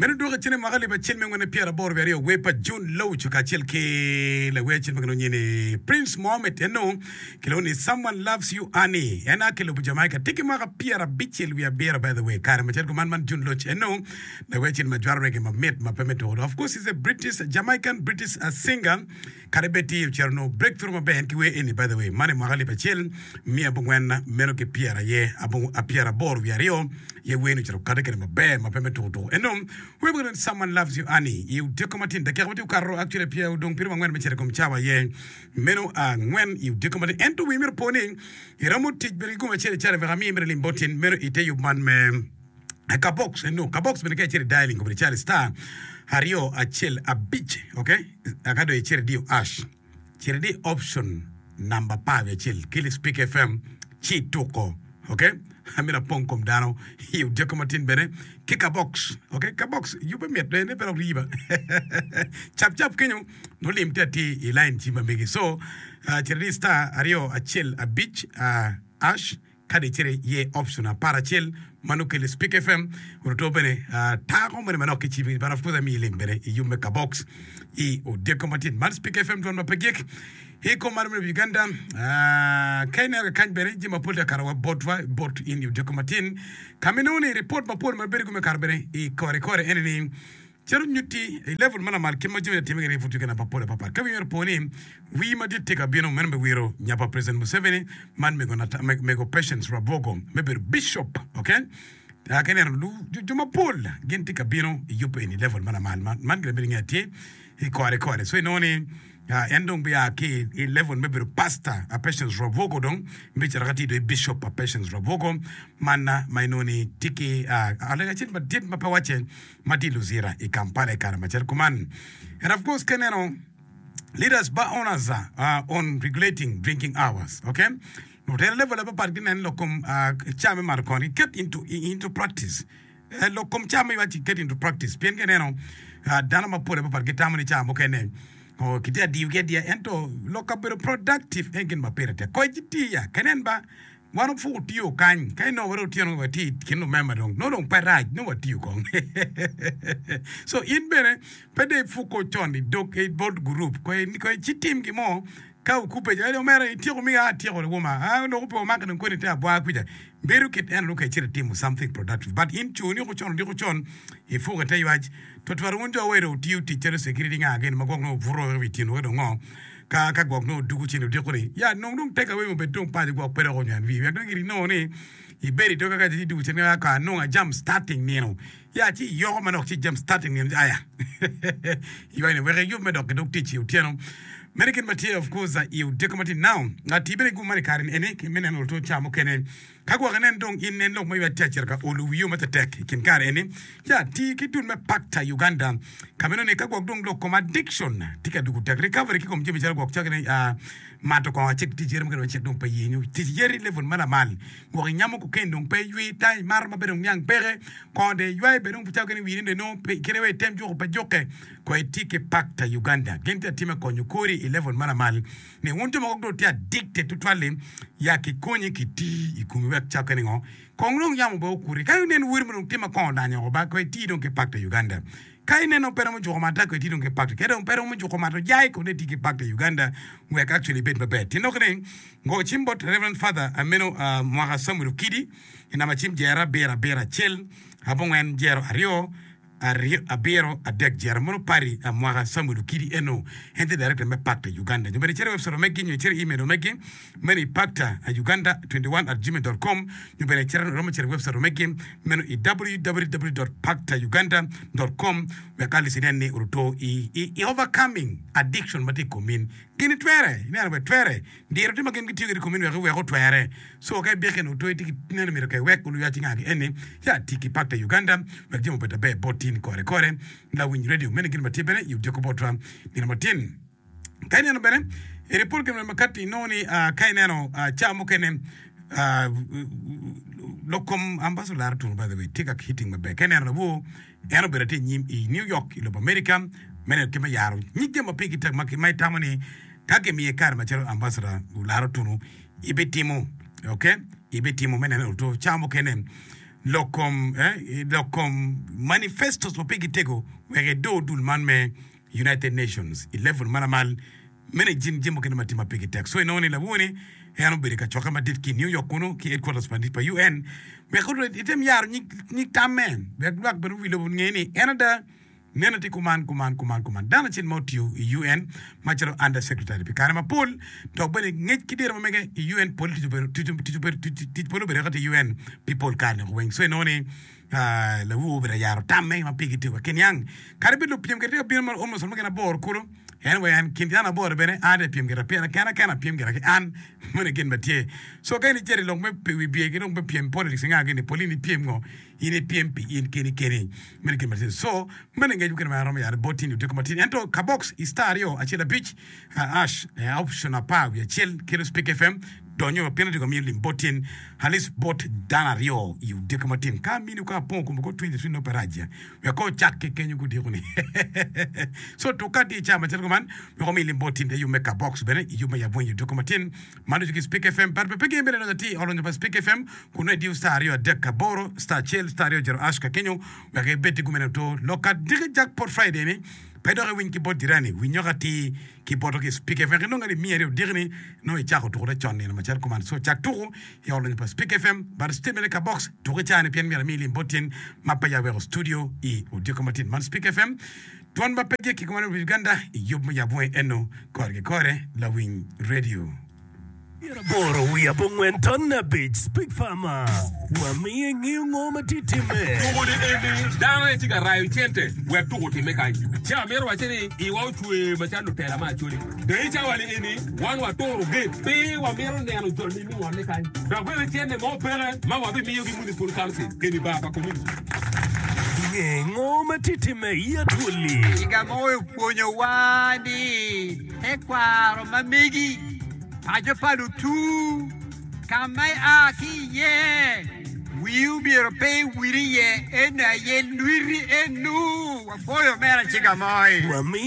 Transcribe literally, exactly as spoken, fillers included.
Meno dwoke cen i mwaka alip acel me angwen pyeraboro wiye aryo wer pa June Loach kacel ki lawer acel ma kilwongo nyinge ni Prince Mohammed eno kilwongo ni Someone Loves You Annie en a ki lobo Jamaica tye ki mwaka pyerabicel wiye abiro by the way kare macalo kuman man June Loach eno lawer acel ma jwero reggae mamit ma pe me tuko of course he's a British Jamaican British singer Kadi bed tye ocito onongo breakthrough maber en ki wer eni by the way man i mwaka alip acel miya abongwen meno ki pyera aye pyeraboro wiye aryo aye wer ni ocito okate kede maber ma pe me tuku tuku eno wer ma Someone Loves You Annie i odiko matin dakika ma tye okato actually pye odong pyeraryo angwen me cito i kom cawa aye meno angwen i odiko matin ento wi myero opo ni iromo tic bene ki gum acel acel wek amiyi mere lim bot in meno ite yub man me Kabox eno kabox bene ka icito i dialing obedo calo star aryo acel abic ok aka dong icito idiyo ash cit idi option namba apar wiye acel ki Speak F M ci ituko ok amito apong kom dano i odyeko matin bene ki kabox ok kabox yubbe mit bene pe dok riba cap cap kenyo nongo lim tye atir i line cim ma megi so cit idi star aryo acel abic ash Kadi icito iye option apar acel ma nongo kelo i Speak F M oruto bene tako moni manok ki cim but of course amiyi link bene i yub me Kabox i odiko matin man Speak F M dwon ma pe gik i kom mar me Uganda. Ka ineno kakany bene jami mapol tye ka kato wa botwa bot in i odiko matin ka ma inongo ni ripot mapol ma bedo kome kato bene i kore kore ene ni Calo nyutti i level ma lamal kit ma jami atime kwede i pud Uganda mapol apapat. Ka wi myero opo ni wii madit tye ka bino meno me wiro nya pa President Museveni man mego mego Patience Rwabwogo me bedo Bishop ok. Ka ineno jo mapol gin tye ka bino i yub eni level ma lamal man gin abedo nge tye i kore kore so inongo ni en dong bia ki i level me bedo pastor a Patience Rwabwogo dong bicito ka tye dong i Bishop a Patience Rwabwogo man ma inongo ni tye ki alega acel madit ma pe wacce ma tye i Luzira i Kampala i kare macalo kuman. And of course ka ineno leaders bar owners uh, on regulating drinking hours, okay? Lutela level apapat ginen lok kom uh, ca me mato kongo giket into, into practice. Eh, lok kom ca me iwaci get into practice pien ka ineno uh, dano mapol apapat gitamo ni ca mukene oh, kitye adiyogi adiya ento lok kabedo productive en gin ma pire tek. Koc itiya ka inen ba Wan opuk otiyo kany, ka inongo wa dong otyeno watye i kin lumemba dong, nongo dong pe rac, nongo watiyo kong. So in bene pe dong ipuk con i dog i bot gurup, koy koy ci tim gin mo ka okubbe jo, omera ityeko miga, atyeko woma, ah lok pe omaki dong koni ite abwa kwica. Bedo kit eno nongo ka icito itimo something productive but in coni oko con odiko con ipuk ite ywac twatwal wun jo wa dong wutiyo tic calo security nga gini ma gwok nongo obuto i wi tyeno wek dong ngo. Ka ka gwok nongo odugo cen odiko ni, ya nong dong take away obed dong paco gwok pe dok onywan wii wek dong giri nongo ni ibedo i doga ka ci idugo cen ka ka nongo ajam starting nino ya ci iyoko manok ci jam starting nino aya iwaco ni wek iyub me dok ki dog tic i otyeno meno gin ma tye of course i odiko ma tye now ati bene gum man i kare ni eni me neno luto ca mukene Ka gwok inen dong in nen lok ma ywac tye acito ka olo wiyo ma tetek i kin kare eni, ci ati ki dul me Pakta Uganda ka meno ni ka gwok dong lok kom addiction tye ka dugo tek recovery ki kom jami calo gwok caki ni mato kongo acik tic yeri mukene wacik dong pe yenyo tic yeri level ma lamal gwok inyamo cocaine dong pe iywi ta imato ma be dong niang peke kongo dong iywayo be dong caki ni wini dong inongo pe kite wa item juko pe jukke ko iti ki Pakta Uganda gin tye atima konyo kori i level ma lamal Ni wun jo mogo dong tye addicted tutwal-li, ya kikonyi kiti i komi wek cakke ningo kong dong yamo bene okuti. Ka inen weri mo dong tye ma kongo odanyo oko ba, kono iti dong ki Pakta Uganda. Ka ineno pe romo juko mato, kono iti dong ki Pakta. Ka dong pe romo juko mato jai, kono iti ki Pakta Uganda wek actually ibed maber. Tyen lok ni, go cim bot Reverend Father meno Mwaka Samuel Okidi i namba cim jero abiro abiro acel abongwen jero aryo aryo abiro adek jero mono pari a mwaka Samuel Okidi eno en tye director me Pakta Uganda nyo bene icito i website omegi nyo icito i email omegi meno i pakta uganda twenty one at gmail dot com nyo bene icito iromo cito i website omegi meno i www dot pakta uganda dot com wek at least inen ni oruto i i overcoming addiction ma tye i kom in gini twere ineno bene twere Diro tye ma gin gitiyo kwede i komi ni wek iwek otwere. Co ka ibike nongo toyi tye ki neno myero ka iwek olu yaci nga ki eni ya ti ki Pakta Uganda wek jami obed aber bot tin kore kore. Lawiny radio meno gin ma tye bene i odyeko botwa nino matin. Ka ineno bene i ripot gin ma kati inongo ni ka ineno ca mukene lok kom Ambassador Lara Tunu by the way tye ka hitting maber. Ka ineno lawor En obedo atir i nyim i New York i lobo Amerika me neno kit me yaro nyig jami ma pigi tek ma itamo ni ka kimiye kare macalo ambassador Olara Otunu ibitimo. Ok, ibitimo me neno oto cawa mukene lok kom eh, lok kom manifestos ma pigi tego wek edo dul man me United Nations i level ma lamal meno jin jami mukene ma tye ma pigi tek so inongo ni lawoni en obedo ka cokke madit ki New York kunu ki headquarters madit pa U N wek item yaro nyig tamme wek lwak bene wi lobo nge ni en ada neno tye kuman kuman kuman kuman dano acel ma otiyo i U N macalo under secretary pi kare mapol dok bene ngec ki diro ma mege i U N pol tic obedo tic pol obedo kati i U N pi pol kare ni weng. So inongo ni lawu obedo yaro tamme ma pigi tego ki niang kadi bed lupiem kede tye ka bino ma almost romo gin aboro kulu en weng en kin dano aboro bene an atye pyem gira pien kena kena pyem gira ki an meno gin ma tye. So ka in icito i lok me wi bye ki lok me pyem politics nga gini pol in ipyem ngo in ipyem pi in keni keni meno gin ma tye. So meno ngec mukene ma aromo yaro bot tini odiko matin ento ka box i star aryo acel abic hash option apar wiye acel kelo Speak F M donyo pien odiko miyo lim bot tin at least bot dano aryo i odiko matin ka mini ka apongo kumo ko twenty three no pe rac wek ko ocak ki kenyo gudiko ni. So tuk ka tye i cawa macalo kuman wek omi lim bot tin te yub me ka box bene i yub me yab weny odiko matin man ducu ki Speak F M but pe gin bene donyo atir olonyo pa Speak F M kun nongo idiyo star aryo adek aboro star acel star aryo zero hash ka kenyo wek ibed ki gumene oto lok ka diki jackpot Friday ni pe dok iwiny ki bot jirani winyo ka atir ki boto ki Speak F M inongo alip miya aryo odiki ni nongo icako tukone con nino macalo kuman. So cak tuku i olonyo pa Speak F M but statement ka box tuku i cani pien myero ami lim bot tin ma pe ya weko studio i odiko matin man Speak F M dwon ma pe gik ki kumalo Uganda i yub me yab weng eno kore ki kore lawiny radio. Pyeraboro wiye abongwen ton abic Speak Farmer wamiyo ingeyo ngo ma tye timme. Tuko ni eni dano aye tye ka rayo cente wek tuko otimme kany. Ci amito wacce ni iwa ocwe macalo lutela me Acholi. Dong i cawa ni eni wan waturo gate pe wamito neno joni me ngolle kany. Dok bene cente mo peke ma wabimiyogi municipal council eni bar pa community. Nge ngo ma tye timme i Acholi. Ciga mo opwonyowa ni tekwaro ma megi paco pa lutu ka ma ia ki iye wii omyero pe iwil iye eno aye lwiti enu wapwoyo mere ciga moi. Wamiyo